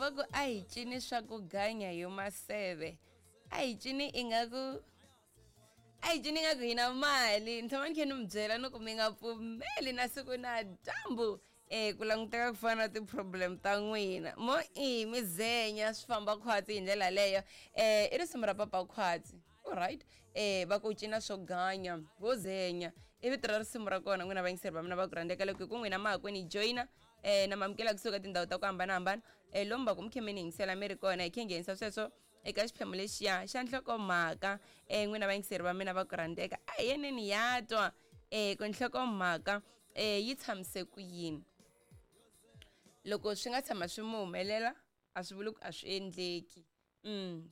Va ku a hi cini swa ku ganya yo maseve, a hi cini ingaku, a hi cini ingaku hi na mali. Ni tshama ni khe ni mi byela ni ku mi nga pfumeli na siku na dyambu ku languteka ku fana na ti-problem ta n'wina mo i mi zenya swi famba khwatsi hi ndlela leyo. I risimu ra Papa Khwatsi, alright. Va ku cina swo ganya vo zenya i vito ra risimu ra kona. N'wina vayingiseri va mina va ku rhandzeka, loko hi ku n'wina ma ha ku ni joyina, na mamukela kusuka tindhawu ta ku hambanahambana, lomu va ku mi khe mi ni yingisela mi ri kona, hi khe nghenisa sweswo eka xiphemu lexiya xa nhlokomhaka. N'wina vayingiseri va mina va ku rhandzeka, a hi yeneni ya twa ku nhlokomhaka yi tshamise ku yini. Loko swi nga tshama swi mi humelela a swi vuli ku a swi endleki.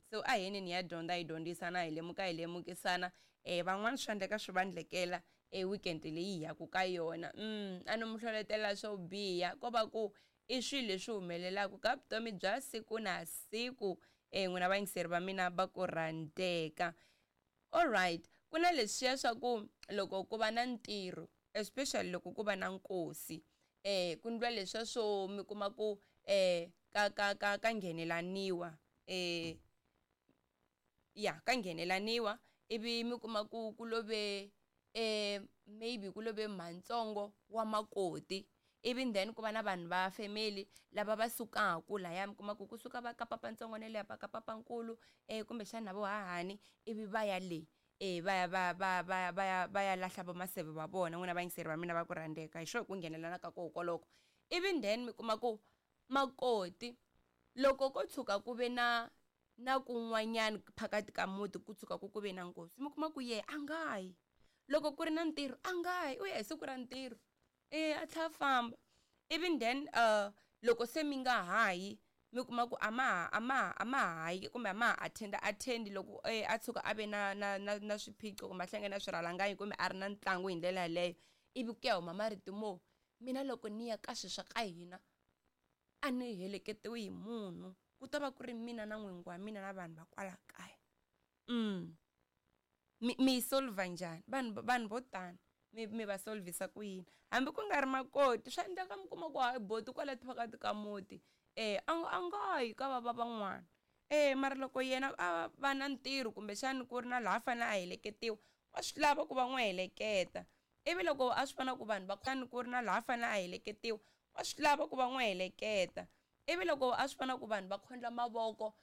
So a hi yeneni ya dyondza, hi dyondzisana, hi lemuka, hi lemukisana. Van'wana swi endleka swi va ndlekela e weekend leyi hi yaku ka yona. A no mi hlohletela swo biha, ko va ku i swilo leswi humelelaka ka vutomi bya siku na siku. N'wina vayingiseri va mina va ku rhandzeka, alright, ku na leswiya swa ku loko ku va na ntirho, especially loko ku va na nkosi, ku ndliwa leswiya swo mi kuma ku ka ka ka ka nghenelaniwa, ya ka nghenelaniwa, ivi mi kuma ku ku love, maybe ku love mhantsongo wa makoti, ivi then ku va na vanhu va family lava va sukaku laya, mi kuma ku kusuka va ka papantsongo na le ka papankulu, kumbexana na vo hahani, ivi va ya le, va ya va va va va ya va ya lahla vo maseve va vona. N'wina vayingiseri va mina va ku rhandzeka, hi swo ku nghenelana ka koho koloko, ivi then mi kuma ku makoti loko ko tshuka ku ve na kun'wanyana phakati ka muti, ku tshuka ku ku ve na nkosi, mi kuma ku yehe a nga yi. Loko ku ri na ntirho a nga yi, u ya hi siku ra ntirho, a tlhela a famba. Ivi then loko se mi nga ha yi, mi kuma ku a ma ha a ma ha a ma ha yi kumbe a ma ha attend loko a tshuka a ve na na na na swiphiqo kumbe a hlangane na swirhalanganyi kumbe a ri na ntlangu hi ndlela yaleyo, ivi ku ya huma marito mo mina loko ni ya ka swilo swa ka hina a ni heleketiwi hi munhu, ku ta va ku ri mina na n'wingi wa mina na vanhu va kwala kaya. Mi yi solver njhani vanhu vo tani, mi va solvisa ku yini? Hambi ku nga ri makoti, swa endleka mi kuma ku hayi boti kwala phakathi ka muti, a nga yi ka va va van'wana, mara loko yena a va na ntirho kumbexani ku ri na laha a fanele a heleketiwa, wa swi lava ku va n'wi heleketa. Ivi loko a swi vona ku vanhu va ku ri na laha a fanele a heleketiwa, wa swi lava ku va n'wi heleketa. Ivi loko a swi vona ku vanhu va khondla mavoko.